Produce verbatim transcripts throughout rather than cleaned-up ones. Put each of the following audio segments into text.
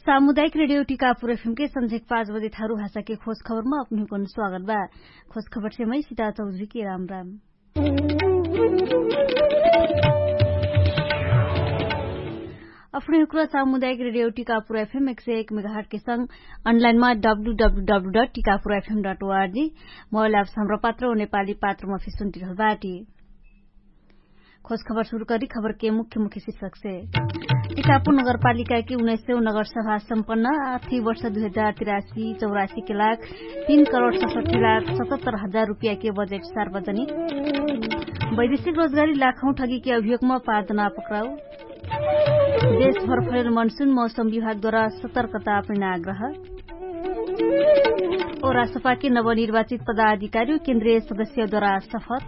सामुदायिक रेडियो टिकापुर एफएम के संझेक पाँच बजे थारु भाषा के खोज खबरमा अपनुहकुन स्वागत बा। खोज खबर से मै सिता चौधरी के राम राम। अपनुहकुरा सामुदायिक रेडियो टिकापुर एफएम एक सय एक मेगाहट के संग अनलाइनमा W W W dot Tikapur FM dot ORG mobile apps हमरा पात्र ओ नेपाली पात्रमा फिसुन्टिरहल बाटी। खोज खबर सुरु करी खबर के मुख्य मुख्य शिर्षक से। टिकापुर नगरपालिका के उन्नाइस सय नगरसभा सम्पन्न आर्थिक वर्ष दुई हजार तिरासी चौरासी के लाख तीन करोड सतसट्ठी लाख सतहत्तर हजार रुपियाँ के बजेट सार्वजनिक। वैदेशिक रोजगारी लाखौँ ठगी के अभियोगमा पाँच जना पक्राउ। देशभर फैल मनसुन मौसम विभागद्वारा सतर्कता अपने आग्रह। ओ राष्ट्रपाके नवनिर्वाचित पदाधिकारी ओ केन्द्रीय सदस्यद्वारा सफर।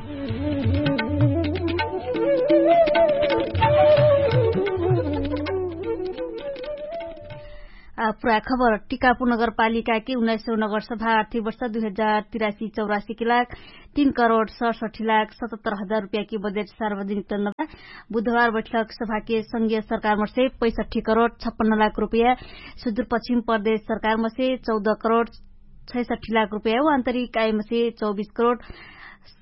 पुरा खबर। टिकापुर नगरपालिकाके उन्नाइस सौ नगरसभा आर्थिक वर्ष दुई हजार तिरासी चौरासी के लाख तीन करोड सडसठी लाख सतहत्तर हजार रुपियाँके बजेट सार्वजनिक तन्नबा। बुधबार बैठक सभाके संघीय सरकारमसे पैसठी करोड छप्पन्न लाख रुपियाँ, सुदूरपश्चिम प्रदेश सरकारमसे चौध करोड छैसठी लाख रुपियाँ ओ आन्तरिक आयमसे चौबिस करोड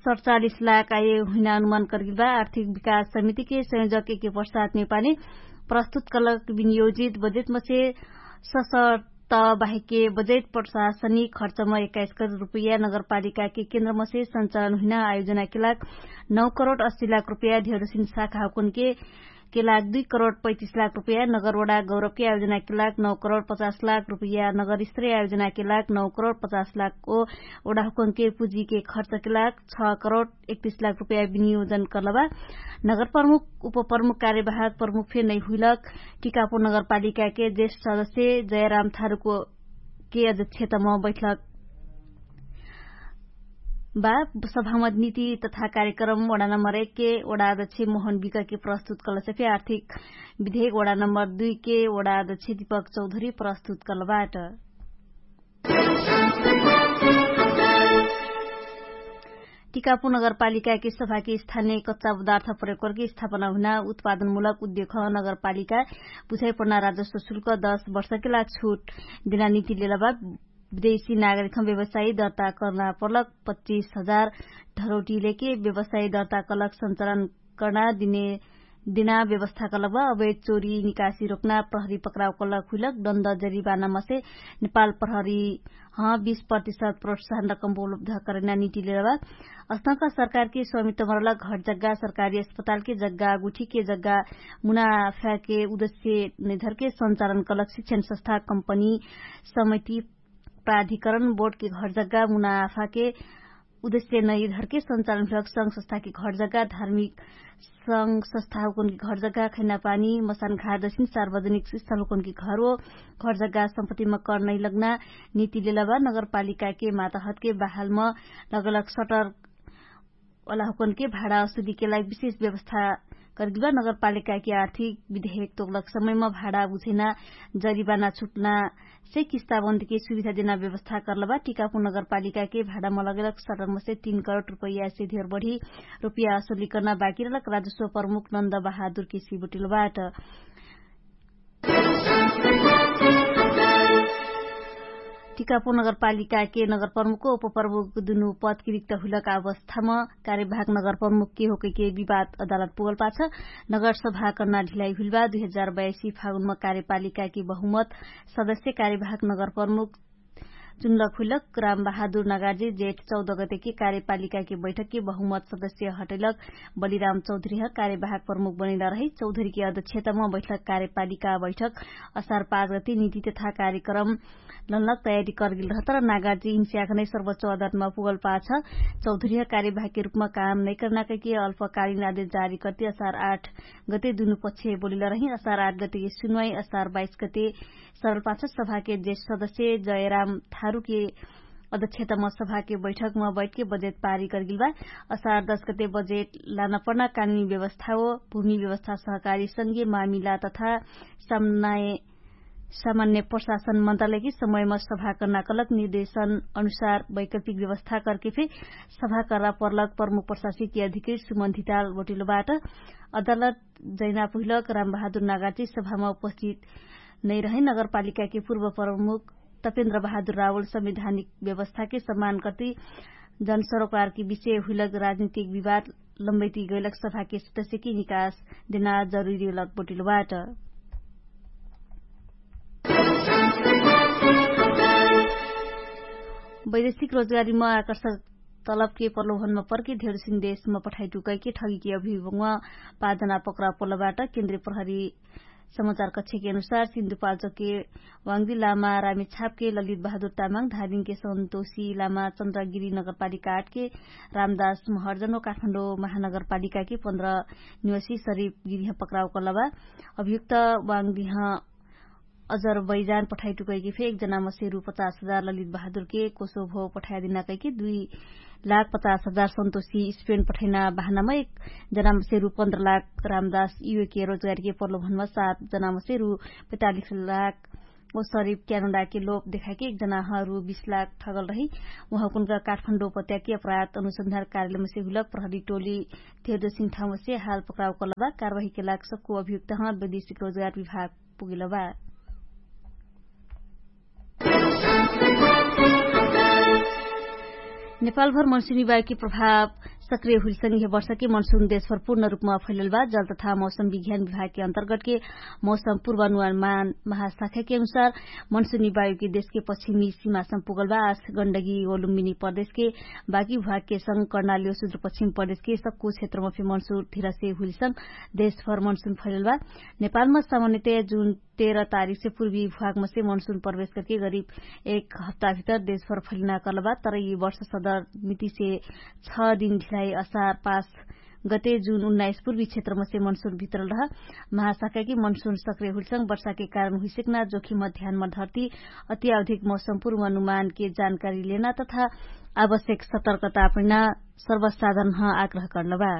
सडचालिस लाख आय हुइना अनुमान कर्गिलबा। आर्थिक विकास समितिके संयोजक एके प्रसाद नेपाली प्रस्तुत कलक विनियोजित बजेटमसे ससर्त बाहेके बजेट प्रशासनिक खर्चमा एक्काइस करोड रुपियाँ नगरपालिकाके केन्द्रमसे सञ्चालन हुइना आयोजनाके लाग नौ करोड अस्सी लाख रुपियाँ ढेरोसिन शाखा हुकुनके के लाग दुई करोड पैतिस लाख रुपियाँ नगरवडा गौरवके आयोजनाके लाग नौ करोड पचास लाख रुपियाँ नगरस्तरीय आयोजनाके लाग नौ करोड पचास लाख ओ ओडाहुकुनके पुजीके खर्चके लाग छ करोड एकतिस लाख रुपियाँ विनियोजन कर्लबा। नगरप्रमुख उपप्रमुख कार्यवाहक प्रमुख फे नै हुइलक। टिकापुर नगरपालिकाके जेष्ठ सदस्य जयराम थारुको के अध्यक्षतम बैठलक बा। सभामा नीति तथा कार्यक्रम वडा नम्बर एक के वडा अध्यक्ष मोहन विकके प्रस्तुत कलसे फे आर्थिक विधेयक वडा नम्बर दुई के वडा अध्यक्ष दीपक चौधरी प्रस्तुत कलबाट। टिकापुर नगरपालिकाके सभाके स्थानीय कच्चा पदार्थ प्रयोग करके स्थापना हुना उत्पादनमूलक उद्योग नगरपालिका बुझाइ पर्ना राजस्व शुल्क दस वर्षके लाग छुट देना निति लेलबा। विदेशी नागरिकम व्यवसायी दर्ता कर्ना पर्लक पच्चिस हजार ढरौटी लेके व्यवसायी दर्ता कलक सञ्चालन कर्ना दिने दिना व्यवस्था कलक बा। अवैध चोरी निकासी रोक्ना प्रहरी पक्राउ कलक हुइलक दण्ड जरिबाना मसे नेपाल प्रहरी हँ बीस प्रतिशत प्रोत्साहन रकम उपलब्ध करैना निति लेलबा। अस्तक सरकारके स्वामित्व मरलक घर जग्गा सरकारी अस्पतालके जग्गा गुठीके जग्गा मुनाफाके उद्देश्य नैधरके सञ्चालन कलक शिक्षण संस्था कम्पनी समिति प्राधिकरण बोर्डके घर जग्गा मुनाफाके उद्देश्य नैधरके सञ्चालन भ्रक संघ संस्थाके घर जग्गा धार्मिक संघ संस्थाहुकुनके घर जग्गा खैना पानी मसान घार दसिन सार्वजनिक स्थलहुकुनके घर ओ घर जग्गा सम्पत्तिमा कर नैलग्ना निति लेलबा। नगरपालिकाके मातहतके बहालमा लगलक सटर ओलाहुकुनके भाडा असुलीके लागि विशेष व्यवस्था कर्गिबा। नगरपालिकाके आर्थिक विधेयक तोकलक समयमा भाडा बुझैना जरिबाना छुट्ना से किस्ताबन्दके सुविधा देना व्यवस्था कर्लबा। टिकापुर नगरपालिकाके भाडामा लगलक सटरमसे तीन करोड रुपैयासे धेर बढी रुपैया असुली कर्ना बाकी रहलक राजस्व प्रमुख नन्द बहादुरके सिबुटिलबाट। टिकापुर नगरपालिकाके नगरप्रमुख उपप्रमुख दुनु पदकी रिक्त हुइलक अवस्थामा कार्यभाग नगरप्रमुखके होकैके विवाद अदालत पुगल पाछ नगरसभा कर्ना ढिलाइ हुइलबा। दुई हजार बयासी फागुनमा कार्यपालिकाके बहुमत सदस्य कार्यभाग नगरप्रमुख चुनलक हुइलक राम बहादुर नगार्जी जेठ चौध गतेके कार्यपालिकाके बैठकके बहुमत सदस्य हटैलक बलिराम चौधरीह कार्यवाहक प्रमुख बनैला रही। चौधरीके अध्यक्षतम बैठक कार्यपालिका बैठक असार पाँच गते निति तथा कार्यक्रम लनलक तयारी करगेल रहतर नागार्जी इन्स्याखनै सर्वोच्च अदालतमा पुगल पाछ चौधरीह कार्यवाहकके रुपमा काम नैकर्ना कैके अल्पकालिन आदेश जारी करती असार आठ गते दुनु पक्ष बोलिल रही। असार आठ गतेके सुनवाई असार बाइस गते सरल पाछ सभाके जेठ सदस्य जयराम थारुके अध्यक्षतम सभाके बैठकमा बैठके बजेट पारी करगेल बा। असार दस गते बजेट लानपर्ना कानुनी व्यवस्था हो भूमि व्यवस्था सहकारी संघीय मामिला तथा सामान्य प्रशासन मन्त्रालयकी समयमा सभा कर्ना कलक निर्देशन अनुसार वैकल्पिक व्यवस्था करके फे सभा कर्ना पर्लक प्रमुख प्रशासकीय अधिकृत सुमन्धिताल वटिलोबाट अदालत जैना पुहिलक राम बहादुर नागार्जी सभामा उपस्थित नैरहै नगरपालिकाके पूर्व प्रमुख तपेन्द्र बहादुर रावल संवैधानिक व्यवस्थाके सम्मान कर्ति जनसरोकारके विषय हुइलक राजनीतिक विवाद लम्बैति गैलक सभाके सदस्यके निकास देना जरुरी लक बोटिलो बाट। वैदेशिक रोजगारीमा आकर्षक तलबके प्रलोभनमा पर्के धेरसिन देशमा पठाइटुकैके ठगीके अभिभुगमा पाँच जना पक्रा पोलबाट केन्द्रीय प्रहरी समाचार कक्षके अनुसार सिन्धुपाल्चोके वाङ्दी लामा रामेछापके ललित बहादुर तामाङ धारिङके सन्तोषी लामा चन्द्रागिरी नगरपालिका आठके रामदास महर्जन व काठमाडौँ महानगरपालिकाके पन्ध्र निवासी सरिफ गिरिह पक्राउ कलबा। अभियुक्त वाङ्दिह अजरबैजान पठाइटुकैके फे एक जनामसे रु पचास हजार ललित बहादुरके कोसोभो पठाइदिना कैके दुई लाख पचास हजार सन्तोषी स्पेन पठैना बहानामा एक जनामसे रु पन्ध्र लाख रामदास युएके रोजगारीके प्रलोभनमा सात जनामसे रु पैतालिस लाख ओ सरिफ क्यानोडाके लोप देखाके एक जनाह रु बिस लाख ठगल रही। उहाँ कुनका काठमाडौँ पत्याके अपराध अनुसन्धान कार्यालयमसे हुलक प्रहरी टोली धेरसिन ठाउँमसे हाल पक्राउ कलबा। कारवाहीके लाग सक्कु अभियुक्तह वैदेशिक रोजगार विभाग पुगेलबा। नेपालभर मनसुनी वायुके प्रभाव सक्रिय हुइलसँग यह वर्षके मनसुन देशभर पूर्ण रूपमा फैललबा। जल तथा मौसम विज्ञान विभागके अन्तर्गतके मौसम पूर्वानुमान महाशाखाके अनुसार मनसुनी वायुके देशके पश्चिमी सीमासम पुगलबा। आस गण्डगी ओलुम्बिनी प्रदेशके बाकी भागके संग कर्णाली सुद्र पश्चिम प्रदेशके सक्कु क्षेत्रमा फे मनसुन धिरसे हुइलसँग देशभर मनसुन फैललबा। नेपालमा सामान्यतया जुन तेह्र तारिखसे पूर्वी भागमसे मनसुन प्रवेश करके गरिब एक हप्ताभितर देशभर फैलिना कलबा। तर यि वर्ष सदर मितिसे छ दिन ढिलाई असार पास गते जुन उन्नाइस पूर्वी क्षेत्रमसे मनसुन भित्रल रह। महाशाखाकी मनसुन सक्रिय हुइलसँग वर्षाके कारण हुइसक्ना जोखिम ध्यानमा धर्ती अति आवधिक मौसम पूर्व अनुमानके जानकारी लेना तथा आवश्यक सतर्कता अपनिना सर्वसाधारण आग्रह कर्लबा।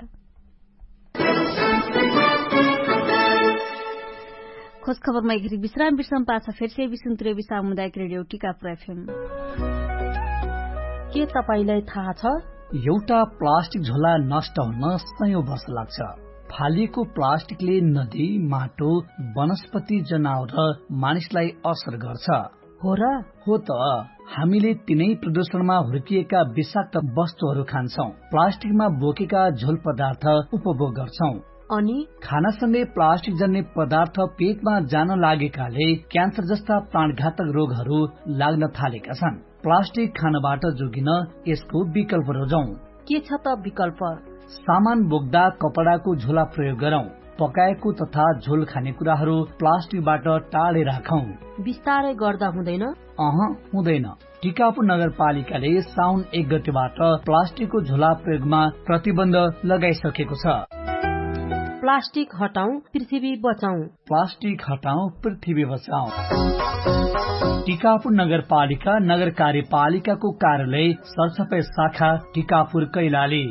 खोज खबरमा एघरी विश्राम विश्राम पाछा फेरसे विसुन्तुरे विश्राम मुदायक रेडियो टिकापुर एफएम। के तपाईंलाई थाहा छ? एउटा प्लास्टिक झोला नष्ट हुन सयौं वर्ष लाग्छ। फालिएको प्लास्टिकले नदी, माटो, वनस्पति, जनावर र मानिसलाई असर गर्छ। हो र? हो त। हामीले तिनै प्रदूषणमा हुर्किएका विषाक्त वस्तुहरू खान्छौं, प्लास्टिकमा बोकेका झोल पदार्थ उपभोग गर्छौं। अनि खानासँगै प्लास्टिक जन्ने पदार्थ पेटमा जान लागेकाले क्यान्सर जस्ता प्राणघातक रोगहरू लाग्न थालेका छन्। प्लास्टिक खानबाट जोगिन यसको विकल्प रोजौं। के छ त विकल्प? सामान बोक्दा कपडाको झोला प्रयोग गरौं। पकाएको तथा झोल खाने कुराहरू प्लास्टिकबाट टाढे राखौं। बिस्तारै गर्दा हुँदैन? अह, हुँदैन। टिकापुर नगरपालिकाले साउन एक गतेबाट प्लास्टिकको झोला प्रयोगमा प्रतिबन्ध लगाइसकेको छ। प्लास्टिक हटाउँ, पृथ्वी बचाउँ। प्लास्टिक हटाउँ, पृथ्वी बचाउँ। टिकापुर नगरपालिका नगर कार्यपालिकाको कार्यालय सरसफाई शाखा टिकापुर कैलाली।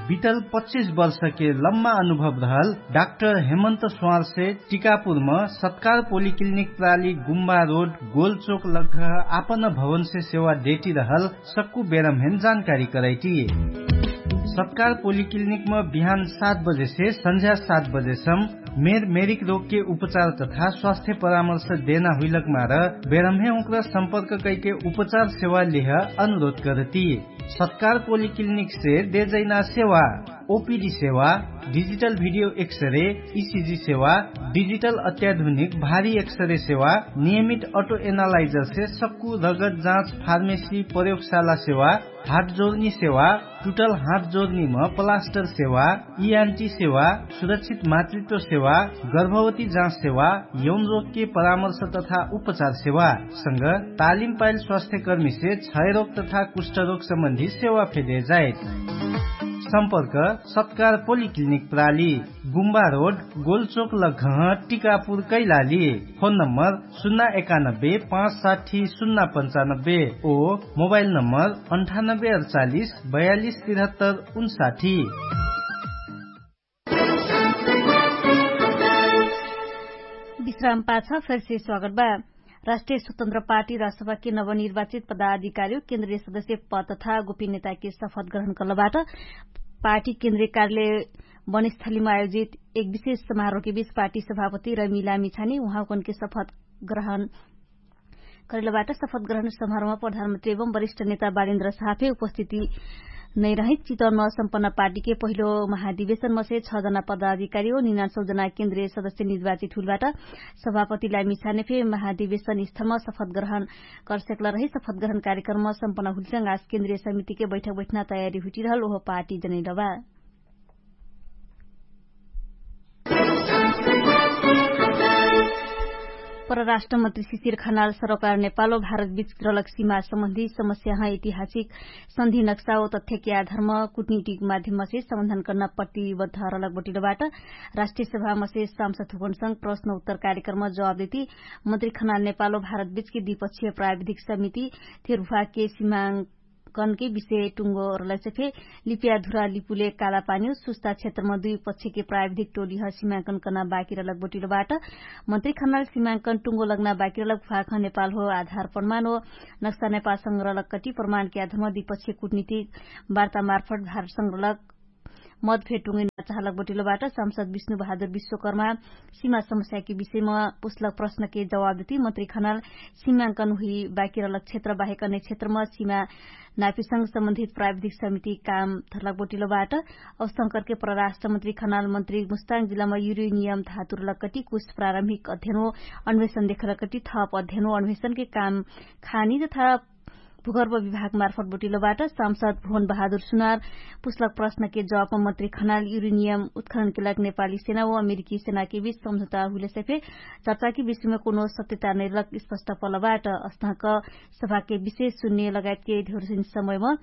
बितल पच्चिस वर्षके लम्मा अनुभव रहल डाक्टर हेमन्त स्वारसे टिकापुरम सत्कार पोलिक्लिनिक प्राली गुम्बा रोड गोलचोक लग्घ आपन भवनसे सेवा डेटी रहल सक्कु बेरमहेन जानकारी करैटी। सत्कार पोलिक्लिनिकम बिहान सात बजेसे सन्झ्या सात बजेसम मेर मेरिक रोगके उपचार तथा स्वास्थ्य परामर्श देना हुइलक मार बेरमहे उक्र सम्पर्क कैके उपचार सेवा लेह अनुरोध करती। सत्कार पोलिक्लिनिकसे देजैना सेवा ओपिडी सेवा, डिजिटल भिडियो एक्सरे, इसिजी सेवा, डिजिटल अत्याधुनिक भारी एक्सरे सेवा, नियमित अटो एनालाइजरसे सक्कु रगत जाँच फार्मेसी प्रयोगशाला सेवा, हात जोर्नी सेवा, टुटल हात जोर्नीम प्लास्टर सेवा, इआन्टी सेवा, सुरक्षित मातृत्व सेवा, गर्भवती जाँच सेवा, यौन रोगके परामर्श तथा उपचार सेवा संग तालिम पाइल स्वास्थ्यकर्मीसे क्षयरोग तथा कुष्ठरोग सम्बन्धी सेवा फेदे जाइत। सम्पर्क सत्कार पोलिक्लिनिक प्राली, गुम्बा रोड, गोलचोक लग्घह, टिकापुर कैलाली। फोन नम्बर सुन्ना एकानब्बे पाँच साठी सुन्ना पन्चानब्बे ओ मोबाइल नम्बर अन्ठानब्बे अडचालिस बयालिस तिरहत्तर उन्साठी। विश्राम पाछ फेरसे स्वागत बा। राष्ट्रिय स्वतन्त्र पार्टी राष्ट्रपति नवनिर्वाचित पदाधिकारीयो केन्द्रीय सदस्य पद तथा गोपिन्यताके शपथ ग्रहण कर्लबाट पार्टी केन्द्रीय कार्यालय वनस्थलीमा आयोजित एक विशेष समारोहके बीच पार्टी सभापति रमिला मिछाने उहाँकनके शपथ ग्रहण करेलबाट। शपथ ग्रहण समारोहमा प्रधानमन्त्री एवं वरिष्ठ नेता बालेन्द्र साहफे उपस्थिति नैरहित चितवनमा सम्पन्न पार्टीके पहिलो महाधिवेशनमसे छ जना पदाधिकारी हो निनान्सौ जना केन्द्रीय सदस्य निर्वाचित हुलबाट। सभापति लामिछाने फे महाधिवेशन स्थलमा शपथ ग्रहण करसेकला रही। शपथ ग्रहण कार्यक्रममा सम्पन्न हुलसंग आज केन्द्रीय समितिके बैठक बैठना तयारी हुटिरहल ओहो पार्टी जनैलबा। परराष्ट्रमन्त्री शिशिर खनाल सरोकार नेपालो भारत बिच रलक सिमा सम्बन्धी समस्याह ऐतिहासिक सन्धि नक्सा ओ तथ्यके आधारमा कुटनीतिक माध्यमसे समाधान कर्ना प्रतिबद्ध रलक बटिलोबाट। राष्ट्रिय सभामसे सांसद हुकनसँग प्रश्न उत्तर कार्यक्रममा जवाब देती मन्त्री खनाल नेपालो भारत बिचके द्विपक्षीय प्राविधिक समिति थेरभुवाके सिमाङ कनके विषय टुङ्गो रलैसे फे लिपिया धुरा लिपुले काला पानी हो सुस्ता क्षेत्रमा दुई पक्षके प्राविधिक टोली ह सिमाङ्कन कर्ना बाकी रलक बोटिलोबाट। मन्त्री खनाल सिमाङ्कन टुङ्गो लग्ना बाकी रलक भाख नेपाल हो आधार प्रमाण हो नक्सा नेपाल संग रलक कटी प्रमाणके आधारमा दुई पक्षके कुटनीति वार्ता मार्फट भारत संग रलक मत फेर टुङ्गै नाचाहलक बटिलोबाट। सांसद विष्णु बहादुर विश्वकर्मा सिमा समस्याके विषयमा पुस्लक प्रश्नके जवाब देती मन्त्री खनाल सिमाङ्कन हुइ बाकी रलक क्षेत्र बाहेक अन्य क्षेत्रमा सिमा नापिसँग सम्बन्धित प्राविधिक समिति काम थर्लक बटिलोबाट। औसंकरके परराष्ट्रमन्त्री खनाल मन्त्री मुस्ताङ जिल्लामा युरेनियम धातुरलक कटी कुछ प्रारम्भिक अध्ययन हो अन्वेषण देखलक कटी थप अध्ययन हो अन्वेषणके काम खानी तथा भूगर्भ विभाग मार्फट बोटिलोबाट। सांसद भुवन बहादुर सुनार पुस्लक प्रश्नके जवाबमा मन्त्री खनाल युरेनियम उत्खननके लाग नेपाली सेना व अमेरिकी सेनाके बीच सम्झौता हुइलेसे फे चर्चाके विषयमा कोनो सत्यता नैलक स्पष्ट पलबाट। अस्थाक सभाके विशेष सुन्ने लगायतके धेरसिन समयमा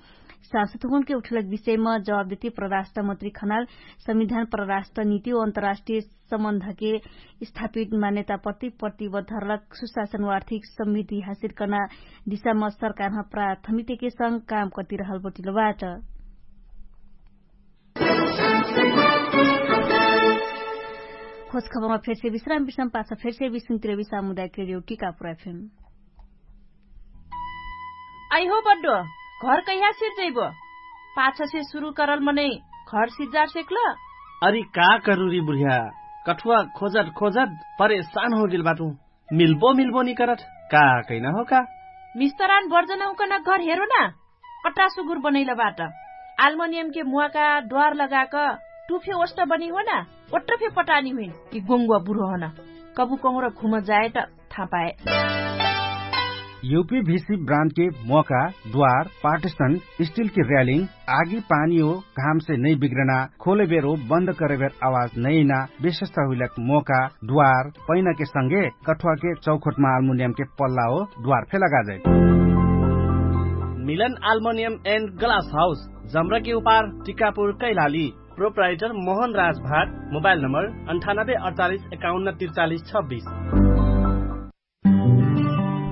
सांसद हुकुनके उठलक विषयमा जवाब देती परराष्ट्रमन्त्री खनाल संविधान परराष्ट्रनीति व अन्तर्राष्ट्रिय सम्बन्धके स्थापित मान्यताप्रति प्रतिबद्ध रलक सुशासन वा आर्थिक समृद्धि हासिल कर्ना दिशामा सरकारह प्राथमिकताके संग काम कर्तिरहल बटिलोबाट। खोज खबरमा फेरसे विश्राम विश्राम पाछ फेरसे विश्रामतिर विश्राम मुदायक रेडियो टिकापुर एफएम। आइहो बड्डो, घर कैहा सिर्जैबो? पाछसे सुरु करल मनै घर सिज्जार सेक्ल? अरि का करुरी बुढिया, कठुवा खोजत खोजत परेशान होगेल बाटु। मिल्बो मिल्बो निकरत का कैना हो का? मिस्तरान बर्जनहुकन घर हेरो ना। अट्टा सुगुर बनैल बाट। आल्मनियमके मुवाका द्वार लगाक टुफे ओष्ट बनी हो ना। ओट्ट फे पटानी हुइन कि गोङ्गुवा बुढो हन। कबु कहुँर घुम जाए त थाहा पाए। युपी भिसी ब्रान्डके मोका द्वार पार्टिसन स्टिलके र्यालिङ आगी पानी हो घामसे नै बिग्रना खोले बेरो बन्द करे बेर आवाज नैना विशेषता हुइलक मोका द्वार पैनाके संगे कठुवाके चौखोटमा आल्मुनियमके पल्ला हो द्वार फे लगाजै। मिलन आल्मुनियम एन्ड ग्लास हाउस जम्रकी उपार टिकापुर कैलाली। प्रोप्राइटर मोहन राजभाट। मोबाइल नम्बर अन्ठानब्बे अडचालिस एकाउन्न त्रिचालिस छब्बिस।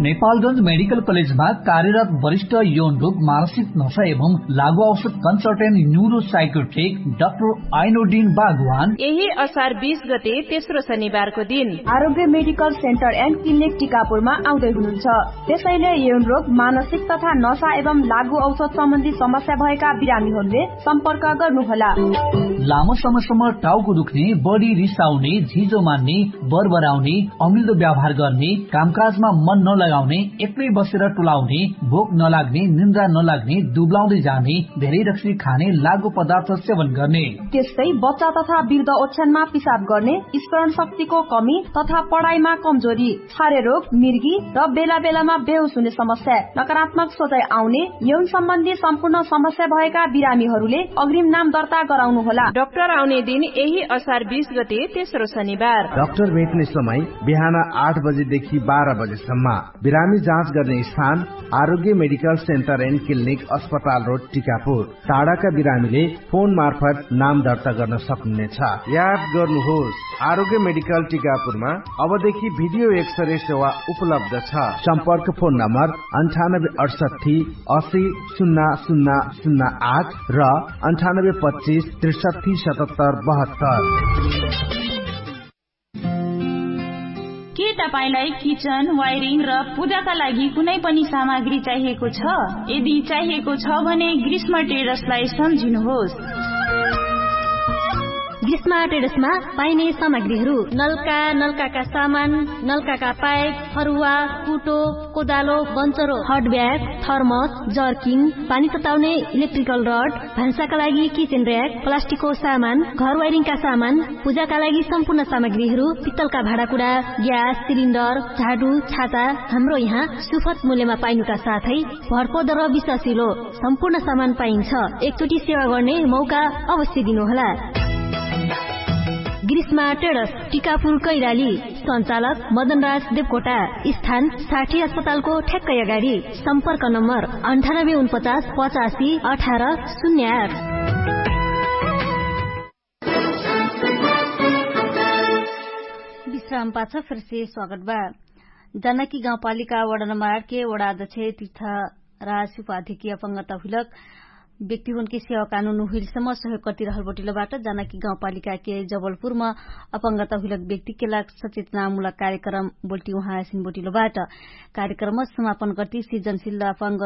नेपालगंज मेडिकल कलेजमा कार्यरत वरिष्ठ यौन रोग मानसिक नशा एवं लागु औषध कन्सल्टेन्ट न्युरो साइकोट्रिक डाक्टर आइनोडिन बागवान यही असार बीस गते तेस्रो शनिबारको दिन आरोग्य मेडिकल सेन्टर एन्ड क्लिनिक टिकापुरमा आउँदै हुनुहुन्छ। त्यसैले यौन रोग मानसिक तथा नशा एवं लागु औषध सम्बन्धी समस्या भएका बिरामीहरूले सम्पर्क गर्नुहोला। लामो समयसम्म टाउको दुख्ने, बढी रिसाउने, झिजो मान्ने, बरबराउने, अमिल्दो व्यवहार गर्ने, कामकाजमा मन नलगाउने, एक्लै बसेर टुलाउने, भोक नलाग्ने, निन्द्रा नलाग्ने, दुब्लाउँदै जाने, धेरै रक्सी खाने, लागु पदार्थ सेवन गर्ने। त्यस्तै बच्चा तथा वृद्ध ओछ्यानमा पिसाब गर्ने, स्मरण शक्तिको कमी तथा पढाइमा कमजोरी, छारे रोग, मिर्गी र बेला बेलामा बेहोस हुने समस्या, नकारात्मक सोचाइ आउने, यौन सम्बन्धी सम्पूर्ण समस्या भएका बिरामीहरूले अग्रिम नाम दर्ता गराउनु होला। डाक्टर आउने दिन यही असार बीस गते तेस्रो शनिबार। डाक्टर भेट्ने समय बिहान आठ बजेदेखि बाह्र बजेसम्म। बिरामी जाँच गर्ने स्थान आरोग्य मेडिकल सेन्टर एन्ड क्लिनिक अस्पताल रोड टिकापुर। टाढाका बिरामीले फोन मार्फत नाम दर्ता गर्न सक्नुहुनेछ। याद गर्नुहोस्, आरोग्य मेडिकल टिकापुरमा अबदेखि भिडियो एक्सरे सेवा उपलब्ध छ। सम्पर्क फोन नम्बर अन्ठानब्बे अठसट्ठी असी सुन्ना सुन्ना सुन्ना आठ र अन्ठानब्बे पच्चिस त्रिसट्ठी सतहत्तर बहत्तर। के तपाईंलाई किचन वायरिङ र पूजाका लागि कुनै पनि सामग्री चाहिएको छ? यदि चाहिएको छ भने ग्रीष्म टेरसलाई सम्झिनुहोस्। ग्रीष्मा ट्रेडर्समा पाइने सामग्रीहरू नल्का नल्काका सामान, नल्काका पाइप, फरुवा, कुटो, कोदालो, बन्चरो, हटब्याग, थर्मस, जर्किङ, पानी तताउने, इलेक्ट्रिकल रड, भान्साका लागि किचेन र्याक, प्लास्टिकको सामान, घर वाइरिङका सामान, पूजाका लागि सम्पूर्ण सामग्रीहरू, पित्तलका भाँडाकुडा, ग्यास सिलिन्डर, झाडु, छाता, हाम्रो यहाँ सुफत मूल्यमा पाइनुका साथै भरपर्दो र विश्वासिलो सम्पूर्ण सामान पाइन्छ। एकचोटि सेवा गर्ने मौका अवश्य दिनुहोला। ग्रीष्मा ट्रेडर्स, टिकापुर कैलाली। सञ्चालक मदनराज देवकोटा। स्थान साठी अस्पतालको ठ्याक्कै अगाडि। सम्पर्क नम्बर अन्ठानब्बे उनपचास पचासी अठार शून्य आठ। विश्राम पाछ फेरसे स्वागत बा। जानकी गाउँपालिका वडा नम्बर आठ के वडा अध्यक्ष तीर्थ राज उपाधिकी अपंगता हुइलक व्यक्तिहुनके सेवा कानुन हुइलसम्म सहयोग कर्तिरहल बटिलो बाट। जानकी गाउँपालिकाके जबलपुरमा अपंगता हुइलक व्यक्तिके लाग सचेतनामुलक कार्यक्रम बोल्टी उहाँ आसिन बटिलो बाट। कार्यक्रम समापन कर्ति सिर्जनशिल अपंग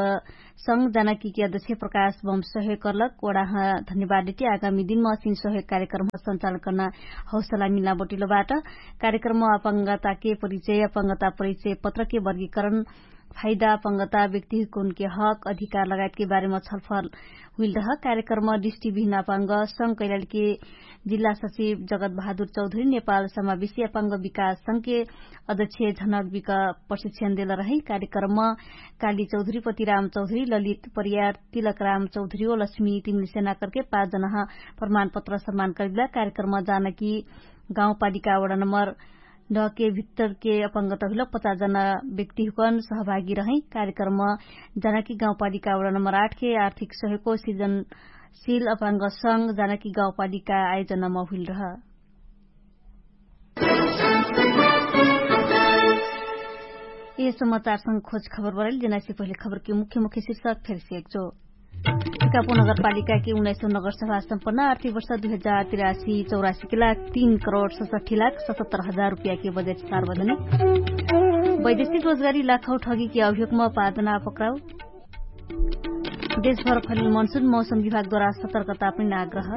संग जानकीके अध्यक्ष प्रकाश बम सहयोग कर्लक वडाह धन्यवाद देटी आगामी दिनमा असिन सहयोग कार्यक्रम सञ्चालन कर्ना हौसला मिल्ना बटिलो बाट। कार्यक्रम अपंगताके परिचय अपंगता परिचय पत्रके वर्गीकरण, फाइदा अपंगता व्यक्तिहुकुनके हक अधिकार लगायतके बारेमा छलफल हुइल रह। कार्यक्रम दृष्टि बिहिन अपंग संग कैलालीके जिल्ला सचिव जगत बहादुर चौधरी नेपाल समावेशी अपंग विकास संगके अध्यक्ष झनक बिक प्रशिक्षण देल रहै। कार्यक्रम काली चौधरी पतिराम चौधरी ललित परियार तिलकराम चौधरी ओ लक्ष्मी तिमिल सेना करके पाँच जना प्रमाणपत्र सम्मान करिला। कार्यक्रम जानकी गाउँपालिका वडा नम्बर नके भित्तरके अपंगता हुइलक पचास जना व्यक्तिहुकन सहभागी रहै। कार्यक्रम जानकी गाउँपालिका वडा नम्बर आठ के आर्थिक सहयोगको सिर्जनशिल अपंग संग जानकी गाउँपालिका आयोजनामा हुइल रह। ए समाचारसँग खोज खबर बरैल जेनासे पहिले खबरके मुख्य मुख्य शीर्षक फेरसे एकचो। टिकापो नगरपालिकाके उन्नाइसौँ नगरसभा सम्पन्न आर्थिक वर्ष दुई हजार तिरासी चौरासीके लाख तीन करोड सतसट्ठी लाख सतहत्तर हजार रुपियाँके बजेट सार्वजनिक। वैदेशिक रोजगारी लाखौ ठगीके अभियोगमा पाँचजना पक्राउ। देशभर फलिल मनसुन मौसम विभागद्वारा सतर्कता पनि आग्रह।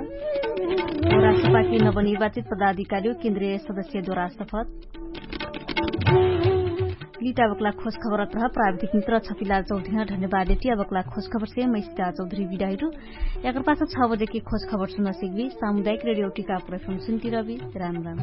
राष्ट्रपाके नवनिर्वाचित पदाधिकारीयो केन्द्रीय सदस्यद्वारा शपथ। लिटा बक्ला खोज खबर अत्रह प्राविधिक मित्र छपिला चौधरीह धन्यवाद देटी। बक्ला खोज खबर से मैसिता चौधरी बिडाइरु। एकर पास छ बजेके खोज खबर सुन सिकबी सामुदायिक रेडियो टिका प्रफम सुन्ती रबी। राम राम।